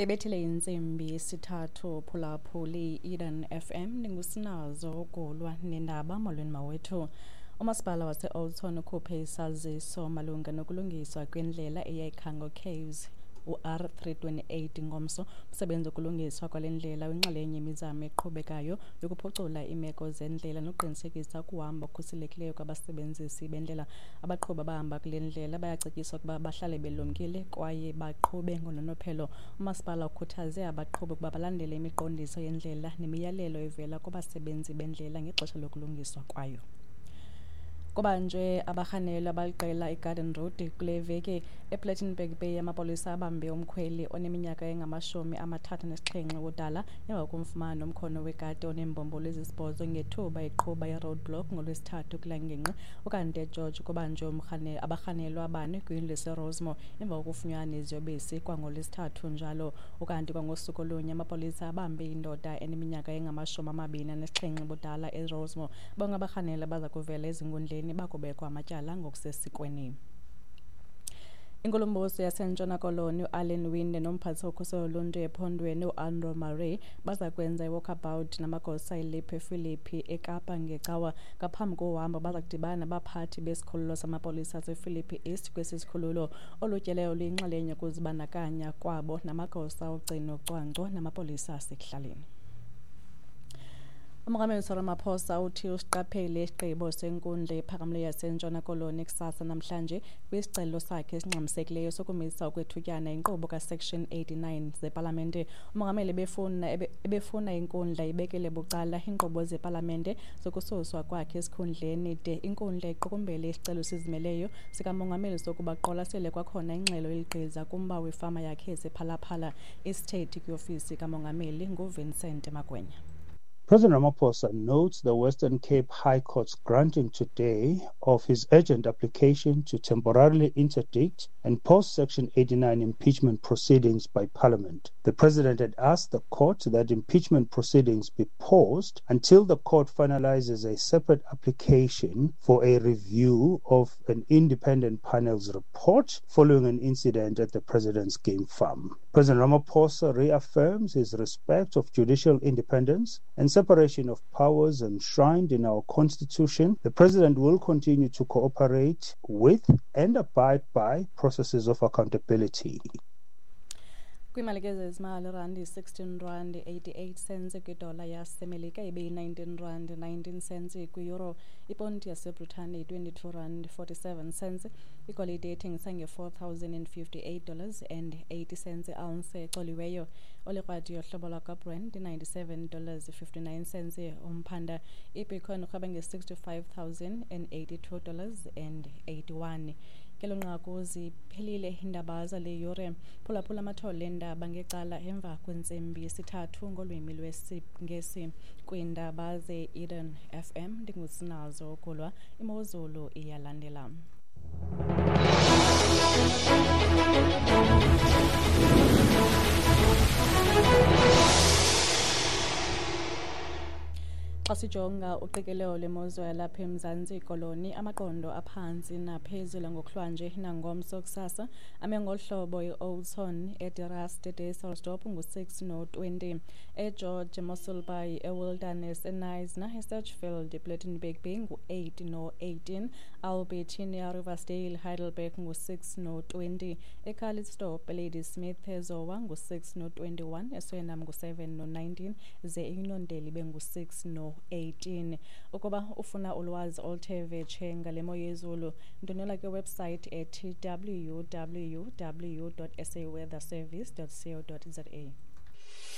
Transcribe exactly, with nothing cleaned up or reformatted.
Ebethile intsimbi yesithathu phulaphuli Eden F M ndingusinazo ukulwa nendaba. Molweni mawethu. Umasipala wase-Oudtshoorn ukhuphe isaziso malunga nokulungiswa kwendlela eya eCango Caves u-R three twenty-eight ngomso. Umsebenzi wokulungiswa kwale ndlela uyinxalenye yemizamo eqhubekayo yokuphucula iimeko zendlela nokuqinisekisa ukuhamba okukhuselekileyo kwabasebenzisi bendlela. Abaqhubi abahamba kule ndlela bayacetyiswa ukuba bahlale belumkile kwaye baqhube ngononophelo. Umasipala ukhuthaze abaqhubi ukuba balandele imiqondiso yendlela nemiyalelo evela kubasebenzi bendlela ngexesha lokulungiswa kwayo. Kubanjwe abarhanelwa abaliqela iGarden Road kule veki ePlettenberg Bay. Amapolisa abambe umkhweli oneminyaka engamashumi amathathu anesixhenxe ubudala emva kokumfumana nomkhono wegadi oneembombolo ezisibhozo ngethuba eqhuba i-roadblock ngoLwesithathu kule ngingqi. Ukanti eGeorge kubanjwe abarhanelwa abane kwindlu yaseRosemore emva kokufunyanwa neziyobisi kwangoLwesithathu njalo. Ukanti kwangosuku olunye amapolisa abambe indoda eneminyaka engamashumi amabini anesixhenxe ubudala eRosemore. Bonke abarhanelwa baza kuvela ezinkundleni bakubekwa amatyala ngokusesikweni. Inkulumbuso yaseNtshona Koloni uAllan Winde nomphathi wokhuselo loluntu ephondweni uAndrew Murray baza kwenza i-walkabout namagosa eLiphe Philippi eKapa ngeCawa. Ngaphambi kohambo baza kudibana nabaphathi besikhululo samapolisa asePhilippi East kwesi sikhululo. Olu tyelelo luyinxalenye yokuzibandakanya kwabo namagosa ogcino cwangco namapolisa asekuhlaleni. Umongameli Cyril Ramaphosa uthi usiqaphele isigqibo senkundla ephakamileyo yaseNtshona Koloni kusasa namhlanje kwisicelo sakhe esingxamisekileyo sokumisa okwethutyana inkqubo kaSection eighty-nine zepalamente. Umongameli ebefuna ebefuna inkundla ibekele bucala iinkqubo zepalamente zokususwa kwakhe esikhundleni de inkundla iqukumbele isicelo esizimeleyo sikamongameli sokuba aqwalasele kwakhona ingxelo eligqiza kumba wefama yakhe esePhalaphala. Isithethi kwiofisi kamongameli nguVincent Magwenya. President Ramaphosa notes the Western Cape High Court's granting today of his urgent application to temporarily interdict and pause Section eighty-nine impeachment proceedings by Parliament. The President had asked the court that impeachment proceedings be paused until the court finalizes a separate application for a review of an independent panel's report following an incident at the President's game farm. President Ramaphosa reaffirms his respect of judicial independence and separation of powers enshrined in our Constitution. The President will continue to cooperate with and abide by processes of accountability. Kwiimali ke zezimali, randi sixteen rand eighty-eight cents kwidola yaseMelika, ibe yi-nineteen rand nineteen cents kwi-euro. Iponti yaseBritane yi-twenty-two rand forty-seven cents. Igolide ethengisa nge-four thousand and fifty-eight dollars and eighty cents i-ounce ecoliweyo. Olikrwadi yohlobo lwakwaBrent ninety-seven dollars fifty-nine cents umphanda. Ibitcoin irhweba nge-sixty-five thousand and eighty-two dollars and eighty-one. Ngelo nqaku ziphelile iindaba zale yure. Phulaphula amathole eendaba ngecala emva kwentsimbi yesithathu ngolwimi lwesiNgesi kwiindaba ze-Eden F M. Ndingusinazo Kulwa. Imozulu iyalandela. Xa sijonga uqikelelo lwemozulu yalapha eMzantsi Koloni, amaqondo aphantsi naphezulu ngokuhlwanje nangomso kusasa ame ngolu hlobo: i-Oudtshoorn, eDeras, eDesselsdorp ngu-six no-twenty, eGeorge, Mossel Bay, eWilderness, eKnysna, eSedgefield, ePlettenberg Bay ngu-eight no-eighteen, Albertina, Riversdale, Heidelberg ngu-six no-twenty, eCalitzdorp, Ladysmith, eZowa ngu-six no-twenty-one, eSuriname ngu-seven no-nineteen, ze iUnondeli ibe ngu-six no eighteen. Ukuba ufuna ulwazi oluthe vetshe ngale mo yezulu, ndonela kwiwebsite ethi w w w dot s a weather service dot co dot za.